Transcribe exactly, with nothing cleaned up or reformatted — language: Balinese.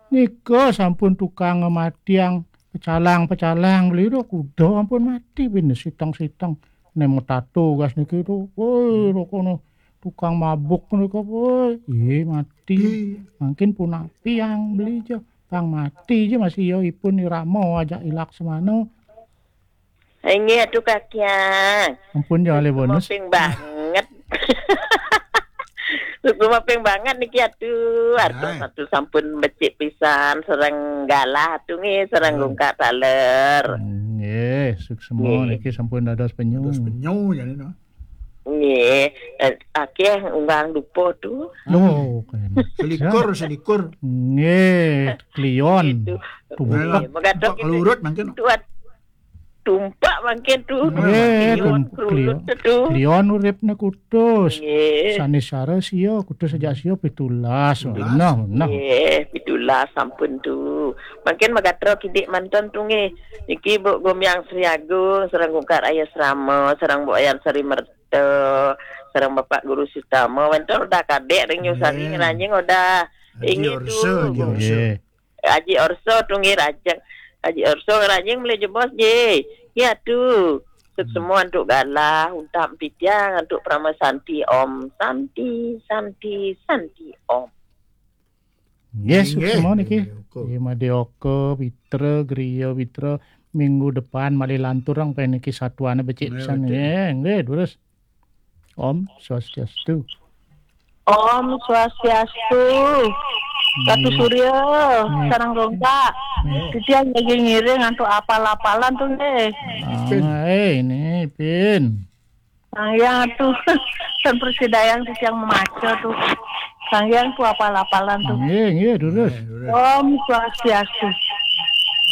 Nika sampun tukang matiang pecalang-pecalang beli do kuda ampun mati bin siteng-siteng. Nek metato gas niki do. Woi, rokono tukang mabuk nika, woi. Iye mati. Mangkin punapi yang beli ja. Pang mati ja masih yo ipun irama ajak ilak semana. Inggih atuh Kakiang. Ampun ya oleh bonus. Moping banget. Suksma ping banget niki atuh. Artos atuh sampun becik pisan sareng galah atuh nggih sareng gungkak taler. Nggih, suksma niki sampun dados penyu. Dados penyu jane no. Nggih, eh, akeh unggang dupo tuh. Oh, keren. Selikur, selikur. Nggih, klion. Itu. Tumpek. Nggih, megatok Pak itu. Kelurut mangkin. Tuat tumpak mangkin tuh. Nggih, klion, tump-, klion. Tuh. Klion uripne kutus. Nggih. Sanisara sia, kutus sejak sia pitulas. Pitulas. Nah, nah. Nggih, pitulas sampun tuh. Mangkin megatro kidik manten tuh nggih. Niki Bu Gomyang Sri Agung, sareng Gungkar Ayah Srama, sareng Bu Ayan Sri Merta, sareng Bapak Guru Sutama. Wenten udah kadek ring nyusari ngeranjing udah. Haji Orso, Haji Orso. Nggih. Haji Orso tuh nggih rajeng. Haji Orso ngeranjing mele jebos nggih. Nggih atuh. Sukses semua antuk galah, untak pitiang, antuk Parama Santi Om. Santi, Santi, Santi Om. Nggih, suksma niki. Nggih, Madya Oka, Pitra, Griya Pitra, minggu depan malih lantur ang pen niki satuane becik pisan nggih. Nggih, durus. Om Swastiastu. Om Swastiastu. Ratu Surya, sareng Gongkak. Titiang lagi ngiring antuk apal-apalan tuh nggih. Ah, eh, ini Pin. Sang Hyang tuh, ten persidayang tuh yang memaca tuh. Sang Hyang tuh apal-apalan tuh. Nggih, nggih, durus. Om Swastiastu.